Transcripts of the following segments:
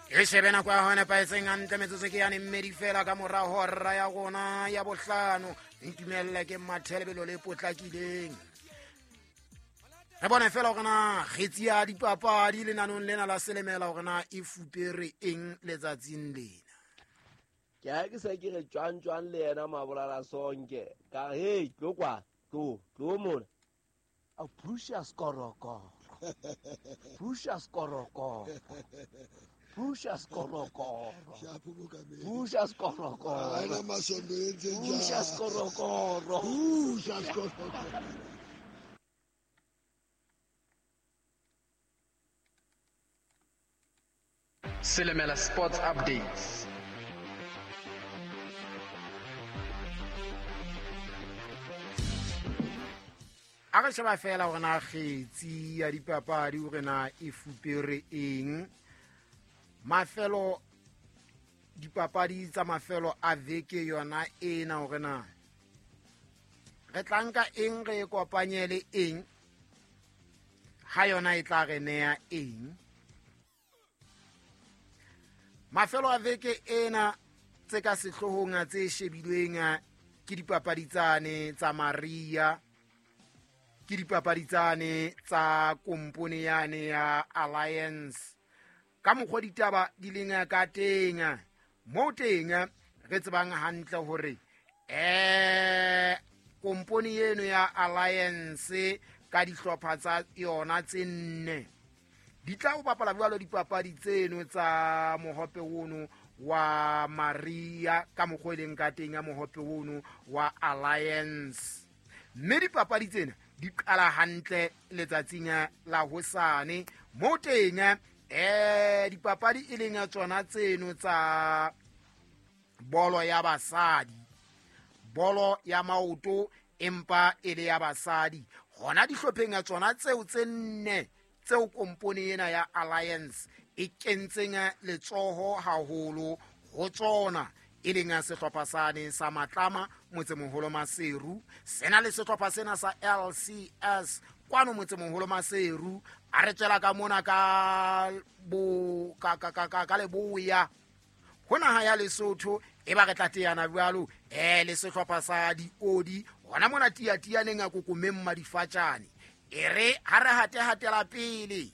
E shebe nako ya hone paetseng hantle, metsotso ke yane mmedi fela ka mora hora ya rona ya bohlano. Ntumelle ke mathe lebelo le potlakileng, re bone fela gore na kgetsi ya dipapadi lenanong lena la Selemela gore na e fupere eng letsatsing lena. Ke ha ke se ke re jwang jwang le yena Mabolala Sonke, ka re hey, tlo kwa, tlo tlo mona a phusha skorokoro, phusha skorokoro, phusha skorokoro, phusha skorokoro, phusha skorokoro, phusha skorokoro. Selemela Sports Updates. A re sheba fela gore na kgetsi ya dipapadi gore na e fupere eng. Mafelo dipapadi tsa mafelo a veke yona ena, gore na re tla nka eng, re e kopanye le eng, ha yona e tla re neya eng. Mafelo a veke ena tse ka sehloohong tse shebilweng ke dipapadi tsane tsa Maria, ke dipapadi tsane tsa kompone yane ya Alliance. Ka mokgwa ditaba di leng ka teng mo teng, re tsebang hantle hore kompone eno ya Alliance ka dihlopha tsa yona tse nne di tla ho bapala jwalo dipapadi tseno tsa mohope ono wa Maria, ka mokgwa e leng ka teng ya mohope ono wa Alliance. Mme dipapadi tsena di qala hantle letsatsing la hosane mo teng dipapadi e leng tsona tseno tsa bolo ya basadi, bolo ya maoto empa e le ya basadi, hona dihlopheng ya tsona tseo tse nne tseo kompone ena ya Alliance e kentseng letsoho haholo ho tsona, e leng sehlopha sane sa Matlama Motsemoholo Maseru, sena le sehlopha sena sa LCS kwano Motsemoholo Maseru. A re tswela ka mona ka bo ka ka ka ka leboya ho naha ya Lesotho, e ba re tla teana jwalo le sehlopha sa Diodi hona mona Tiatianeng a kokomeng Madifatjane. E re ha re hate hatela pele,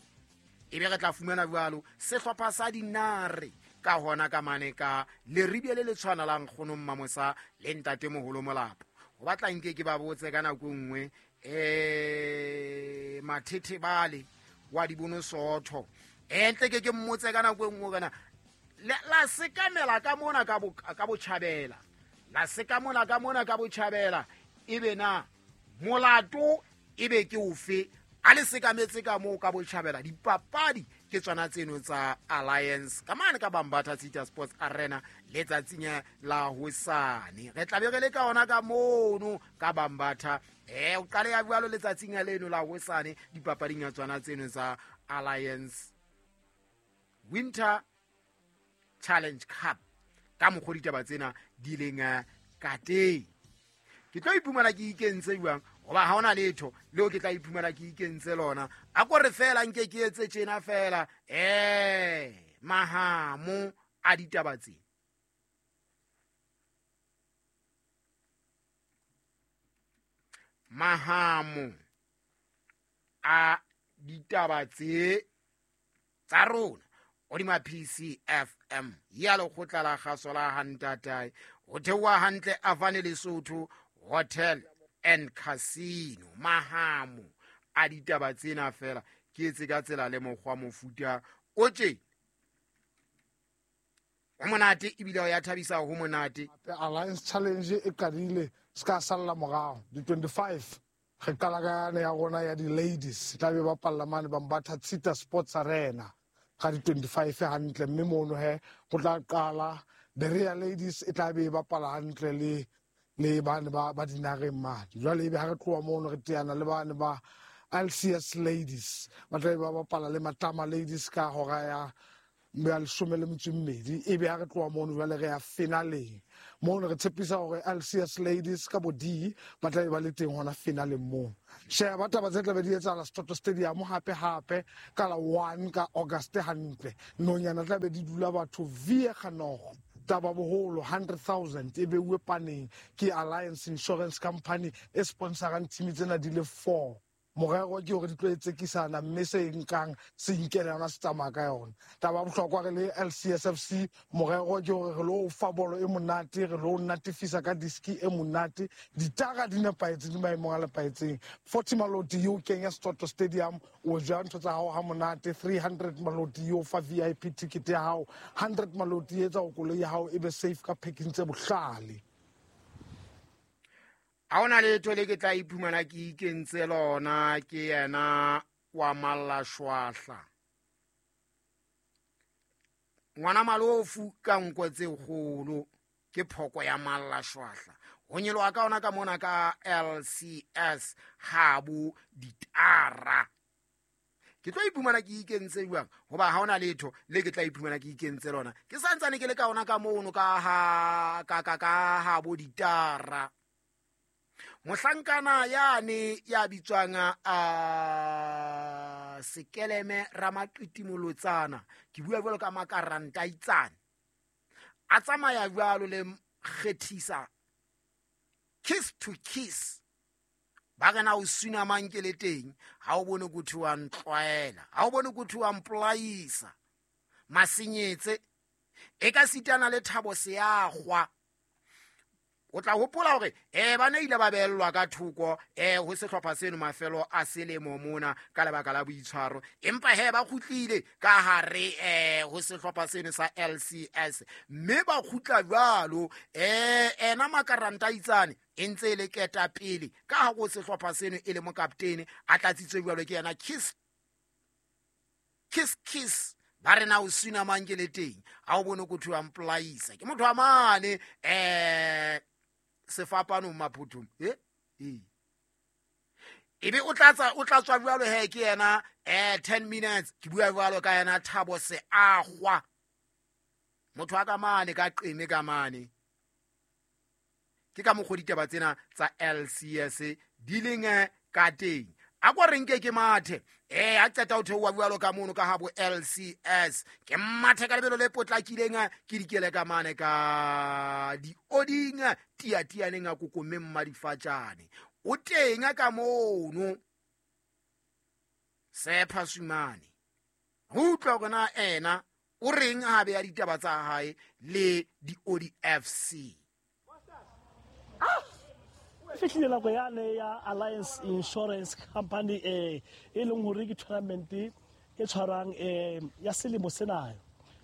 e be re tla fumana jwalo sehlopha sa Dinare ka hona ka mane ka Leribie le le tshwanalang kgonong Mamosa le ntate moholo Molapo. Ho batla nke ke ba botse ka nako e nngwe Mathethe bale wa dibono sotho, ntle ke mmotse ka nako e nngwe kana la sekamela ka mona ka botjhabela, la sekamela ka mona ka botjhabela, ebe na molato ebe ke ofe a le sekametse ka moo ka botjhabela. Dipapadi ke tsona tseno tsa Alliance ka mane ka Bambatha City Sports Arena letsatsing la hosane. Re tla be re le ka ona ka mono ka Bambatha, o qale ya jwalo letsatsing leno la hosane dipapading ya tsona tseno tsa Alliance Winter Challenge Cup. Ka mokgwa ditaba tsena di leng ka teng, ke tlo iphumana ke ikentse jwang, goba ha ona letho leo ke tla iphumana ke ikentse lona. A ko re fela nke ke etse tjena fela mahamo a ditaba tse. Mahamo a ditaba tse tsa rona hodima PCFM ya lekgotla la kgaso la Hantatae, ho theoha hantle Avane Lesotho Hotel and Casino. Mahamo a ditaba tsena fela ke etse ka tsela le mokgwa mofuta o tje ho monate, ebile o ya thabisa ho monate. Alliance Challenge e qadile se ka salla morao di 25, re qala ka yane ya rona ya di-ladies, e tla be bapalla mane Bambatha Tshita Sports Arena ka di 25 hantle. Mme mono he go tla qala the Real Ladies, e tla be e bapala hantle le bane ba dinareng mane. Jwale ebe ha re tloha mono re teana le bane ba LCS Ladies, ba tla be ba bapala le Matlama Ladies ka hora ya Ya 12 e be a re tloa mono jwale re ya finaleng mono. Re tshepisa hore LCS ladies ka bo D ba tla be ba le teng hona finaleng moo. Sheba taba tse tlabe di etsahala Setoto Stadium hape hape ka la 1 ka August hantle. Nonyana tlabe di dula batho vie ganogo. Taba boholo 100,000 e beuwe paneng ke Alliance Insurance Company e sponsorang team tsena di le 4. Morero ke hore di tlo etsekisana mme se nkang se inkele yona se tsamaya ka yona. Taba ya bohlokwa re le LCSFC, morero ke hore re lo fa bolo e monate, re lo natefisa ka diski e monate, ditara di nepahetse, di maemong a nepahetseng. 40 maloti e o kenya Setoto Stadium, o ja ntho tsa hao ha monate. 300 maloti e o fa VIP ticket ya hao, 100 maloti e etsa hore koloi ya hao e be safe ka packing tse bohlale. Ha hona letho le ke tla iphumana ke ikentse lona, ke yena wa Mallashwahla. Ngwana malofu ka nko tse kgolo ke phoko ya Mallashwahla. Ho nyoloha ka ona ka mona ka LCS habo ditara. Ke tlo iphumana ke ikentse jwang? Hoba ha hona letho le ke tla iphumana ke ikentse lona. Ke santsane ke le ka ona ka mono ka ha ka ka ka habo ditara. Mohlankana yane ya bitswang a Sekeleme Ramaqiti-Molotsana, ke bua jwalo ka makaranta itsane, a tsamaya jwalo le kgethisa kiss to kiss. Ba re na o suna mang ke le teng, ha o bone kuthi wa ntlwaela, ha o bone kuthi wa mpolaisa masenyetse e ka sitana le Thabo Seagwa. O tla hopola hore ba ne ile ba beellwa ka thoko ho sehlopha seno mafelo a selemo mona ka lebaka la boitshwaro, empa he ba kgutlile ka hare ho sehlopha seno sa LCS mme ba kgutla jwalo. Ena makaranta itsane e ntse e le ketapele ka ha ho sehlopha seno e le mokaptene, a tlatsitswe jwalo ke yena kiss kiss kiss. Ba re na o suna mang ke le teng, ha o bone kuthi wa mpolaisa. Ke motho wa mane sefapanong maphuthong ebe o tla tswa jwalo he ke yena 10 minutes. Ke bua jwalo ka yena Thabo Seagwa, motho wa ka mane ka qeme ka mane. Ke ka mokgwa ditaba tsena tsa LCS di leng ka teng. A ko re nke ke mathe a qeta ho theoha jwalo ka mono ka habo LCS, ke mathe ka lebelo le potlakileng, ke dikele ka mane ka dioding tiatianeng a kokomeng madifatjane. O teng ka mono Sepha Sumane, ho utlwa hore na ena o reng ha beya ditaba tsa hae le diodi FC. Fihlile nako yane ya Alliance Insurance Company e leng hore ke tournament e tshwarang ya selemo sena,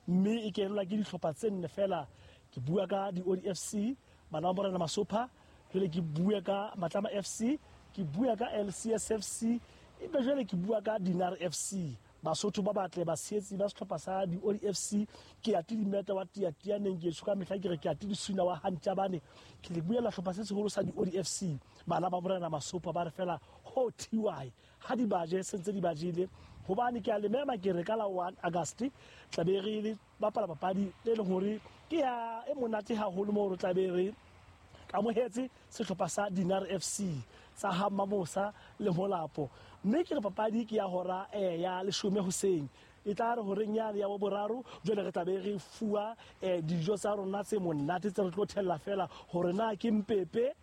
mme e kenelwa ke dihlopha tse nne fela. Ke bua ka di-Odi FC, bana ba Morena Masopha, jwale ke bua ka Matlama FC, ke bua ka LCS FC, ebe jwale ke bua ka Dinar FC. Basotho ba batle batshehetsi ba sehlopha sa di-Odi FC, ke ya Tidimeta wa Tiatianeng, ke tsho ka mehla ke re ke ya Tidisuna wa Hantjabane. Ke le buela sehlopha se seholo sa di-Odi FC, bana ba Morena Masopha ba re fela ho TY ha di baje se ntse di bajile. Hobane ke a le mema ke re ka la 1 August tla be re le bapala papadi e leng hore ke ya e monate haholo moo re tla be re amohetse sehlopha sa Dinar FC tsa ha Mamosa le Molapo. Mme ke re papadi ke ya hora ya 10 hoseng, e tla re horeng yane ya boraro jwale re tla be re fuwa dijo tsa rona tse monate tse re tlo thella fela hore na ke mpepe,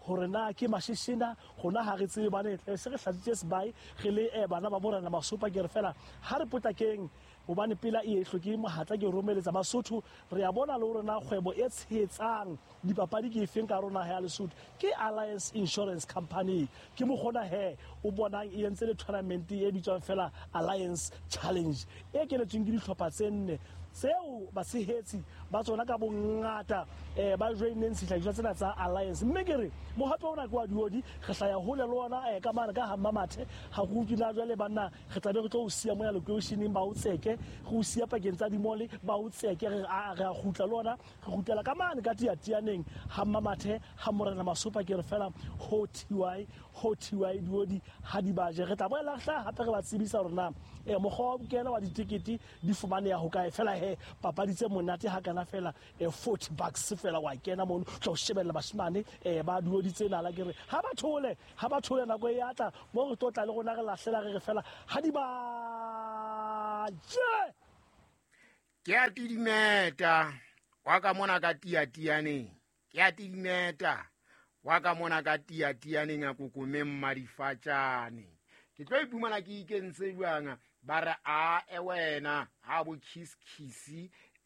hore na ke mashishina, hona ha re tsebe bane se re hlatsitse sebai re le bana ba Morena Masopha. Ke re fela ha re potlakeng hobane pela e hloke mohatla ke romeletsa Basotho. Re a bona le hore na kgwebo e tshehetsang dipapadi ke efeng ka rona ya Lesotho ke Alliance Insurance Company. Ke mokgona he o bonang e entse le tournament e bitswang fela Alliance Challenge e kenetsweng ke dihlopha tse nne tseo batshehetsi ba tsona ka bongata ba joineng sehlahiswa tsena tsa Alliance. Mme ke re mohape ona ke wa diodi, re hlaya hole le ona ka mane ka ha Mmamathe. Ha go utlwe na jwale banna re tla be re tlo o siya moya lokeisheneng ba o tseke, re o siya pakeng tsa dimole ba o tseke, re a kgutla le ona, re kgutlela ka mane ka Tiatianeng ha Mmamathe ha Morena Masopha. Ke re fela ho TY ho TY diodi ha di baje. Re tla boela hlaha hape re ba tsebisa hore na Mokgwa wa kena wa ditekete di fumaneha ho kae fela he papadi tse monate ha kana fela $40 fela wa kena mono tla o shebella bashimane ba duoditse nala ke re ha ba thole nako e atla mo re tlo tla le rona re lahlela re re fela ha di ba je. Ke a tidimeta wa ka mona ka tiatianeng, ke a tidimeta wa ka mona ka tiatianeng a kokomeng madifatjane. Ke tlo iphumana ke ikentse jwang ba re a e wena ha bo kiss kiss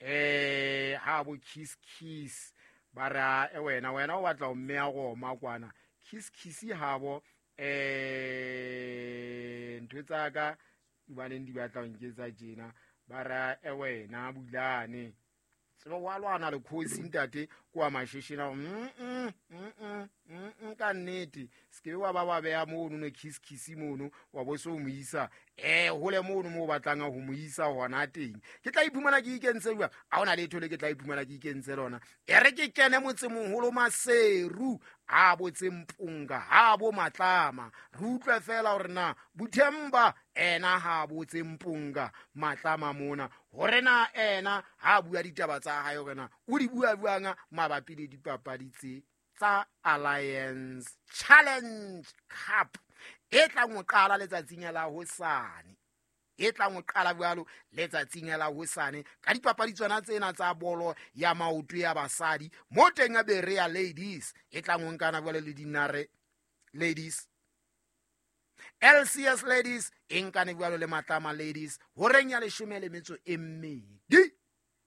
ha bo kiss kiss ba re a e wena wena o batla o mme a goma kwana kiss kiss ha bo ntho tsa ka baneng di batla nketsa tjena ba re e wena bulane tsebo wa lwana le khosi ntate kwa masheshena ka nnete se wa ba ba beya mono no kiss kiss mono wa bo so moisa hole mono mo batlang ho moisa hona teng. Ke tla iphumana ke ikentse jwa a ona letho le ke tla iphumana ke ikentse lona e re ke kene motsemoholo Maseru a botse Mpunga ha bo Matlama re utlwe fela hore na Buthemba ena ha botse Mpunga Matlama mona hore na ena ha bua ditaba tsa hae hore na o di bua buanga mabapi le dipapadi tse tsa Alliance Challenge Cup e tlang ho qala letsatsing la hosane, e tlang ho qala jwalo letsatsing la hosane ka dipapadi tsona tsena tsa bolo ya maoto ya basadi mo teng ya Berea Ladies e tlang ho nkana jwalo le Dinare Ladies, LCS Ladies e nkane jwalo le Matlama Ladies horeng ya 12.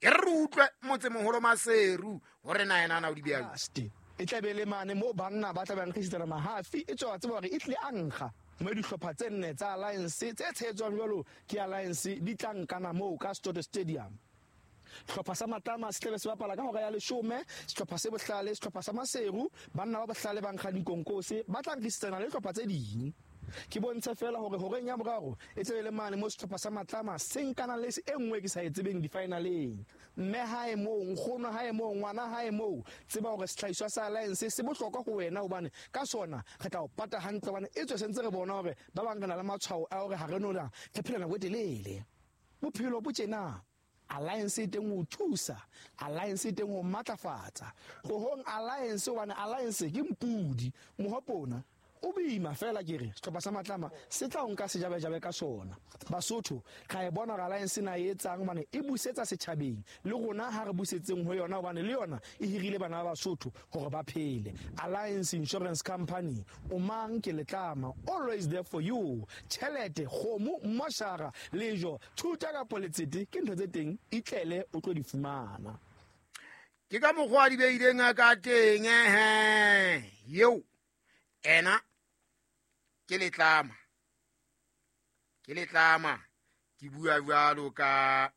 E re utlwe motsemoholo Maseru hore na yena na o di beha. E tla be le mane mo banna ba tla bang kgisitsana mahafi e tswa tseba hore e tle a nkga mo dihlopha tse nne tsa Alliance tse tshehetswang jwalo ke Alliance di tla nkana moo ka Stoto Stadium. Sehlopha sa Matlama se tlabe se bapala ka hora ya 10, sehlopha se Bohlale, sehlopha sa Maseru, banna ba Bohlale ba nkga dikonkose ba tla nkgisitsana le dihlopha tse ding. Ke bontshe fela hore horeng ya boraro e tlabe le mane mo sehlopha sa Matlama se nkana le e nngwe ke sa e tsebeng di-finaleng. Mme hae moo, nkgono hae moo, ngwana hae moo, tseba hore sehlahiswa sa Alliance se bohlokwa ho wena hobane ka sona re tla o pata hantle hobane e tswe sentse re bona hore ba bang re na le matshwao a hore ha re no na re phela nako e telele. Bophelo bo tjena. Alliance e teng ho thusa, Alliance e teng ho matlafatsa. Ho hong Alliance hobane Alliance ke mpudi, mohopona o boima fela ke re sehlopha sa Matlama se tla o nka sejabejabe ka sona. Basotho ra e bona hore Alliance na e etsang hobane e busetsa setjhabeng le rona ha re busetseng ho yona hobane le yona e hirile bana ba Basotho hore ba phele. Alliance Insurance Company, o mang ke Letlama, always there for you. Tjhelete, kgomo, moshara, lejo, thuta kapa letsete ke ntho tse teng, itlele o tlo di fumana. Ke ka mokgwa di beileng ka teng yeo ena ke Letlama, ke Letlama ke bua jwalo ka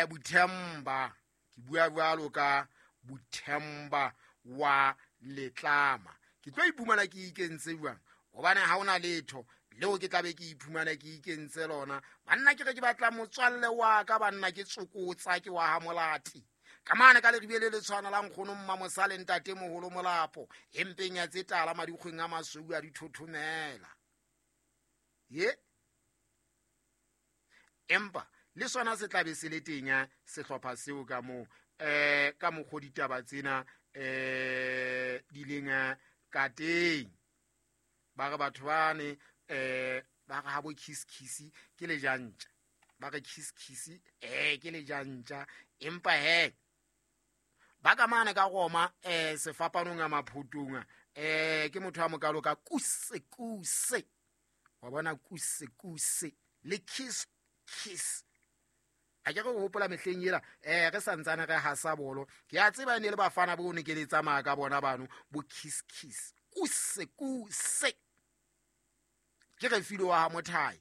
Buthemba, ke bua jwalo ka Buthemba wa Letlama. Ke tlo iphumana ke ikentse jwang hobane ha ona letho leo ke tlabe ke iphumana ke ikentse lona. Banna ke re ke batla motswalle wa ka, banna ke tsokotsa ke wa ha Molati ka mane ka leribele le tshwana la nkgono Mmamosale ntate moholo Molapo empeng ya tse tala madikgweng a masweu a dithothomela ye. Empa le sona se tlabe se le teng sehlopha seo ka moo ka mokgo ditaba tsena di leng ka teng. Ba re batho bane ba re ha bo kiss kiss ke lejantja, ba re kiss kiss ke lejantja, empa he ba ka mane ka Roma sefapanong a maphotong ke motho a mokalo ka kuse kuse wa bona kuse kuse le kiss kiss. A ke re hopola mehleng ela re santsane re hasa bolo ke a tseba ne le bafana bo ne ke le tsamaya ka bona bano bo kiss kiss kuse kuse ke re filo wa Mothai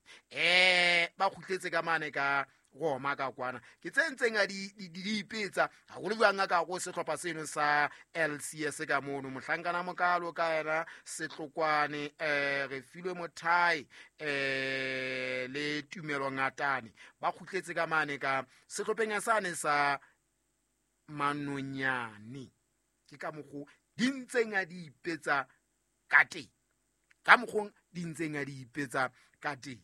ba kgutletse ka mane ka Roma ka kwana ke tse ntseng a di ipetsa haholo jwang ka go sehlopha seno sa LCS ka mono mohlankana mokalo ka yena Setlokwane re filwe Mothai le Tumelo Ngatane ba kgutletse ka mane ka sehlopheng sane sa Manonyane. Ke ka mokgo di ntseng a di ipetsa ka teng, ka mokgong di ntseng di ipetsa ka teng.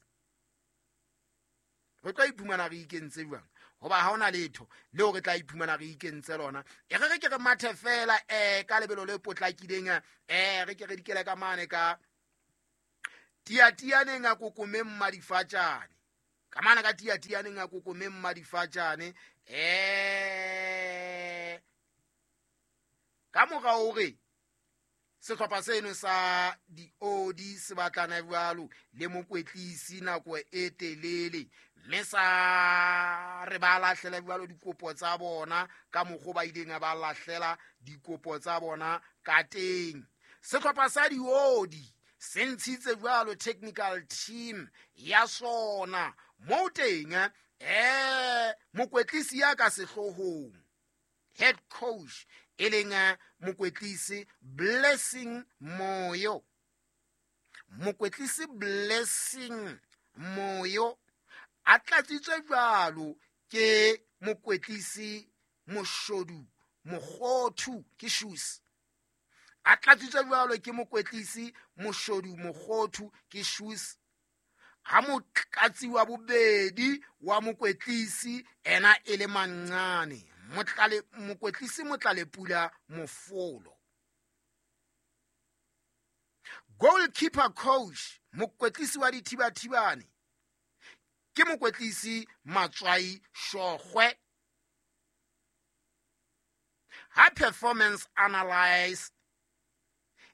Re tla iphumana re ikentse jwang? Hoba ha hona letho leo re tla iphumana re ikentse lona. E re re ke re mathe fela ka lebelo le potlakileng, re ke re dikele ka mane ka tiatianeng a kokomeng madifatjane. Ka mane ka tiatianeng a kokomeng madifatjane, ka mora hore sehlopha seno sa diodi se batlana jwalo le mokwetlisi nako e telele, mme sa re ba lahlela jwalo dikopo tsa bona ka mokgwa ba ileng ba lahlela dikopo tsa bona ka teng. Sehlopha sa diodi se ntshitse jwalo technical team ya sona moo teng mokwetlisi ya ka sehloohong, head coach, e leng mokwetlisi Blessing Moyo. Mokwetlisi Blessing Moyo a tlatsitswe jwalo ke mokwetlisi Moshodu Mokgothu ke shoes. A tlatsitswe jwalo ke mokwetlisi Moshodu Mokgothu ke shoes. Ha motlatsi wa bobedi wa mokwetlisi ena e le Manqane, mokwetlisi Motlalepula Mofolo. Goalkeeper coach mokwetlisi wa dithibathibane ke mokwetlisi Matswai Shogwe. Ha performance analyst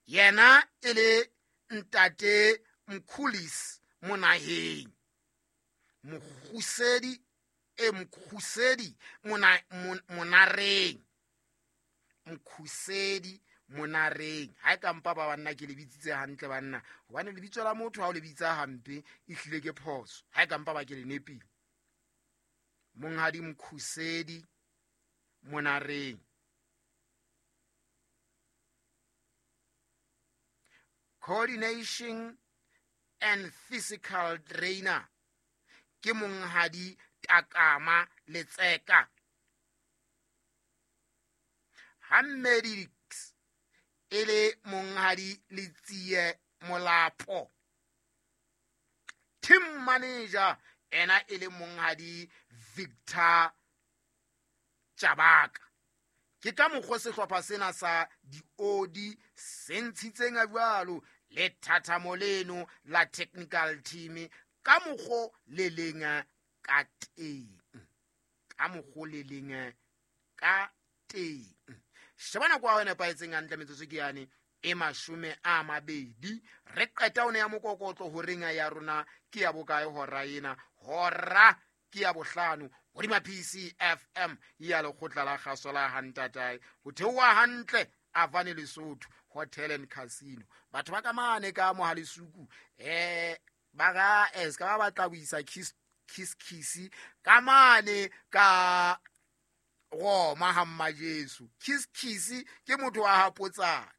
yena e le ntate Mkhulis Monaheng, Mokgusedi Mkhusedi Monareng, Mkhusedi Monareng. Ha e ka mpa ba banna ke le bitsitse hantle banna, hobane lebitso la motho ha o le bitsa hampe e hlile ke phoso. Ha e ka mpa ba ke le nepile. Monghadi Mkhusedi Monareng. Coordination and physical trainer ke monghadi Takama Letseka. Ha medics e le monghadi Letsie Molapo. Team manager ena e le monghadi Victor Chabaka. Ke ka mokgwa sehlopha sena sa diodi se ntshitseng jwalo le thathamo leno la technical team ka mokgwa le leng ka teng. Ka mokgwa le leng ka teng. Sheba nako ya hona nepahetseng hantle metsotso ke yane e 20. Re qeta one ya mokokotlo horeng ya rona ke ya bokae hora ena? Hora ke ya 5 hodima PCFM ya lekgotla la kgaso la Hantatae. Ho theoha hantle Avane Lesotho Hotel and Casino. Batho ba ka mane ka Mohalisuku ba ga ska ba batla ho isa kiss kiss ka mane ka Roma ha Mmajesu. Kiss kiss ke motho wa hapotsane.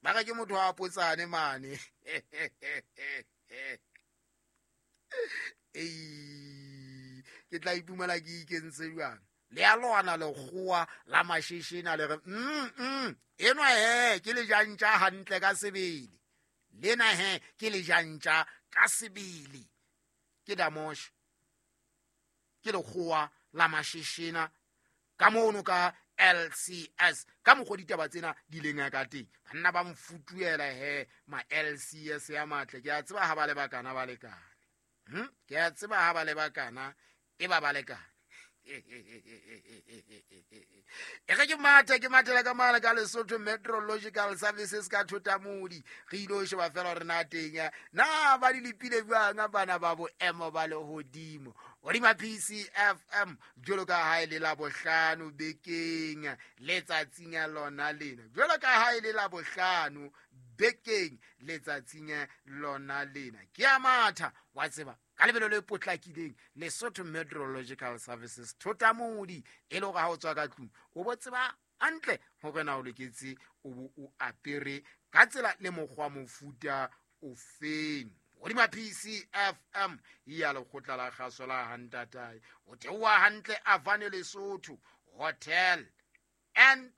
Ba ga ke motho wa hapotsane mane. Ke tla ipumela ke ikentse jwang? Le a lwana lekgowa la masheshena le re enwa he ke le jantja hantle ka sebele. Lena he ke le jantja ka sebele. Ke damosh. Ke lekgowa la masheshena ka mono ka LCS. Ka mokgwa ditaba tsena di leng ka teng. Banna ba mfutuela he ma LCS ya matle. Ke a tseba ha ba le bakana ba lekane. Ke a tseba ha ba le bakana e ba ba lekane. E re ke mathe ke mathela ka mala ka Lesotho Meteorological Services ka Thotamodi. Re ilo sheba fela hore na teng na ba di lepile jwang bana ba boemo ba lehodimo hodima PCFM jwalo ka ha e le Labohlano bekeng letsatsing lona lena. Jwalo ka ha e le Labohlano bekeng letsatsing lona lena. Ke a matha wa tseba ka lebelo le potlakileng Lesotho Meteorological Services Thotamodi e le hore ha o tswa ka tlung o bo tseba hantle hore na o loketse o bo o apere ka tsela le mokgwa mofuta o feng. Hodima PCFM ya lekgotla la kgaso la Hantatae. O theoha hantle Avane Lesotho Hotel and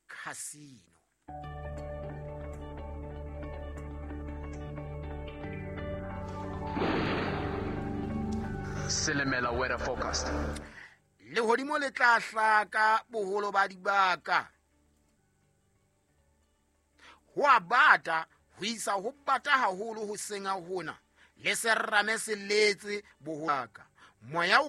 Casino. Selemela weather forecast. Lehodimo le tla hlaka boholo ba dibaka. Ho a bata ho isa ho bata haholo hoseng hona, le serame se letse boholo. Moya o